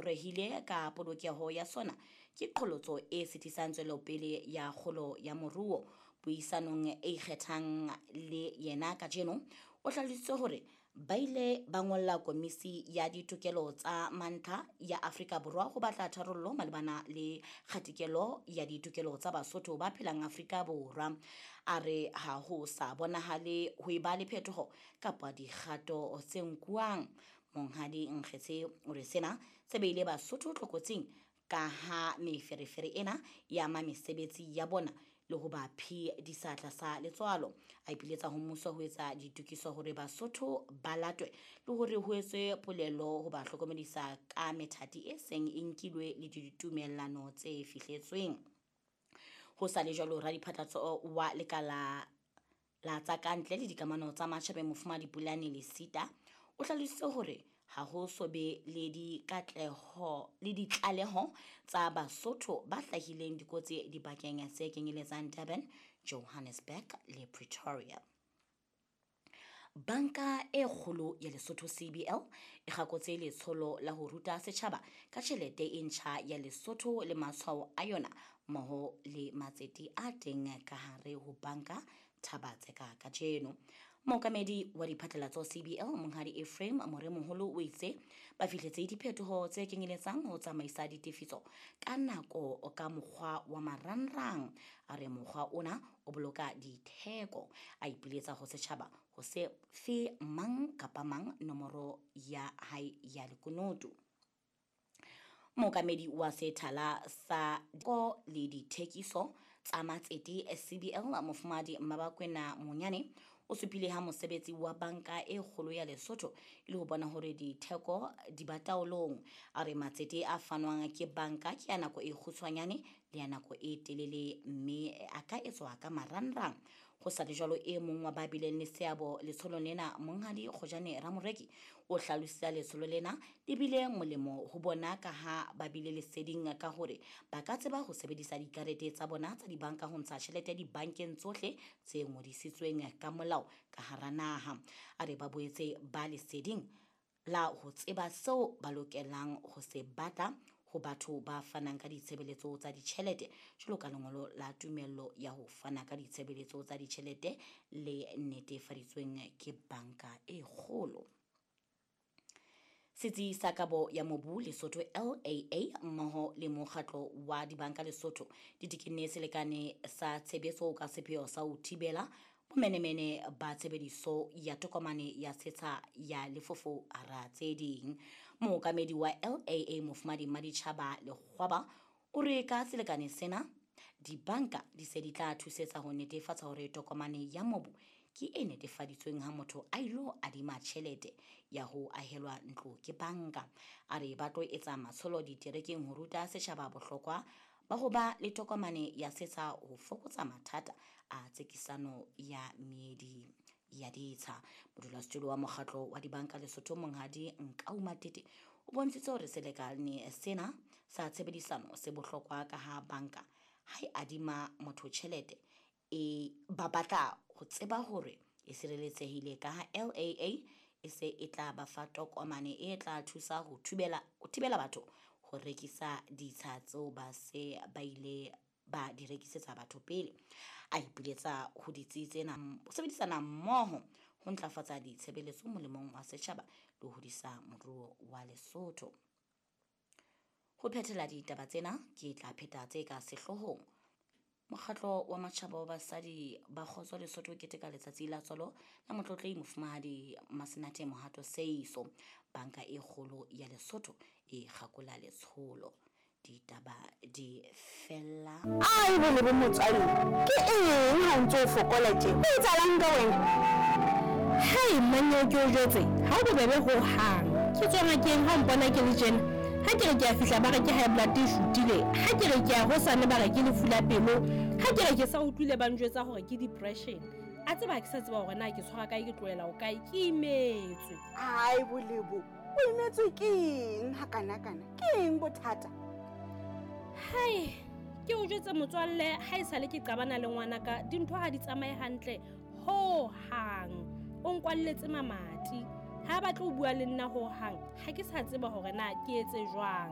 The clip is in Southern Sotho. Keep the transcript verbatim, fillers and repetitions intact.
ngongorehile ka polokeho ya sona ke qholotso e sitisang tswelopele ya kgolo ya moruo. Puisanong e ikgethang le yena kajeno, o hlalositse hore ba ile ba ngolla Komisi ya Ditokelo tsa Mantlha ya Afrika Borwa ho batla tharollo malebana le kgatikelo ya ditokelo tsa Basotho ba phelang Afrika Borwa. A re ha ho sa bonahale ho eba le phetoho kapa dikgato tse nkuwang. Monghadi Nkgetse o re sena se beile Basotho tlokotsing ka ha meferefere ena e ama mesebetsi ya bona le ho ba phedisa tlasa letswalo. A ipiletsa ho mmuso ho etsa ditokiso hore Basotho ba latwe le hore ho etswe polelo ho ba hlokomedisa ka methati e seng e nkilwe le ditumellano tse fihletsweng. Ho sa le jwalo, radiphatlatso wa lekala la tsa kantle le dikamano tsa matjhabeng Mofumahadi Pulane Lesita o hlalositse hore ha ho so be le dikatleho le ditlaleho tsa Basotho ba hlahileng dikotsi dibakeng tse kenyeletsang Durban, Johannesburg le Pretoria. Banka e kgolo ya Lesotho C B L e kgakotse letsholo la ho ruta setjhaba ka tjhelete e ntjha ya Lesotho le matshwao a yona mmoho le matsete a teng ka hare ho banka Thabatseka kajeno. Mookamedi wa diphatlalatso C B L Monghadi Ephraim Moremoholo o itse ba fihletse diphetoho tse kenyeletsang ho tsamaisa ditefiso ka nako ka mokgwa wa marangrang. A re mokgwa ona o boloka ditheko. A ipiletsa ho setjhaba ho se fe mang kapa mang nomoro ya hae ya lekunutu. Mookamedi wa sethala sa ko le dithekiso tsa matsete C B L Mofumahadi Mmabakwena Monyane o supile ha mosebetsi wa banka e kgolo ya Lesotho e le ho bona hore ditheko di ba taolong. A re matsete a fanwang ke banka ke ya nako e kgutshwanyane le ya nako e telele mme a ka etswa ka marangrang. Ho sa le jwalo, e mong wa ba bileng le seabo letsholong lena, Monghadi Kgojane Ramoreki, o hlalositse letsholo lena le bile molemo ho bona ka ha ba bile leseding ka hore ba ka tseba ho sebedisa dikarete tsa bona tsa dibanka ho ntsha tjhelete dibankeng tsohle tse ngodisitsweng ka molao ka hara naha. A re ba boetse ba leseding la ho tseba seo ba lokelang ho se batla ho batho ba fanang ka ditshebeletso tsa ditjhelete jwalo ka lengolo la tumello ya ho fana ka ditshebeletso tsa ditjhelete le netefaditsweng ke banka e kgolo. Setsi sa kabo ya mobu Lesotho L A A mmoho le mokgatlo wa dibanka Lesotho di tekenne selekane sa tshebetso ka sepheo sa ho thibela bomenemene ba tshebediso ya tokomane ya setsha ya lefofo hara tse ding. Mookamedi wa L A A Mofumahadi Maditjhaba Lekgwaba o re ka selekane sena dibanka di se di tla thusetsa ho netefatsa hore tokomane ya mobu ke e netefaditsweng ha motho a ilo adima tjhelete ya ho ahelwa ntlo ke banka. A re ba tlo etsa matsholo diterekeng ho ruta setjhaba bohlokwa ba ho ba le tokomane ya setsha ho fokotsa mathata a tsekisano ya meedi ya ditsha. Modulasetulo wa mokgatlo wa dibanka Lesotho Monghadi Nkau Matete o bontshitse hore selekane sena sa tshebedisano se bohlokwa ka ha banka ha e adima motho tjhelete e ba batla ho tseba hore e sireletsehile ka ha L A A e se e tla ba fa tokomane e tla thusa ho thibela, ho thibela batho ho rekisa ditsha tseo ba se ba ile ba di rekisetsa batho pele. A ipiletsa ho ditsi tsena ho sebedisana mmoho ho ntlafatsa ditshebeletso molemong wa setjhaba le ho hodisa moruo wa Lesotho. Ho phethela ditaba tsena ke tla pheta tse ka sehloohong. Mokgatlo wa matjhaba wa basadi ba kgotso Lesotho o keteka letsatsi la tswalo la motlotlehi Mofumahadi Masenate Mohato Seiso. Banka e kgolo ya Lesotho e kgakola letsholo. Ditaba di fella. Ai, bo le bo motswadi, ke eng ha o ntso o fokola tje? Ho etsahalang ka wena? Hei, mmanyeo ke o jwetse, ha o bobebe hohang. Ke tswa ngakeng ha o mpona ke le tjena. Ha ke re ke a fihla ba re ke high blood e shutile. Ha ke re ke a hosane ba re ke lefu la pelo. Ha ke re ke sa utlwile ba njwetsa hore ke depression. A tseba ha ke sa tseba hore na ke tshwara kae, ke tlohela ho kae, ke imetswe. Ai, Bolebo, o imetswe ke eng hakanakana? Ke eng bothata? Hai, ke o jwetse motswalle, ha esale ke qabana le ngwanaka, dintho ha di tsamaye hantle ho hang. O nkwalletse mamati. Ha ba tlo bua le nna ho hang, ha ke sa tseba hore na ke etse jwang.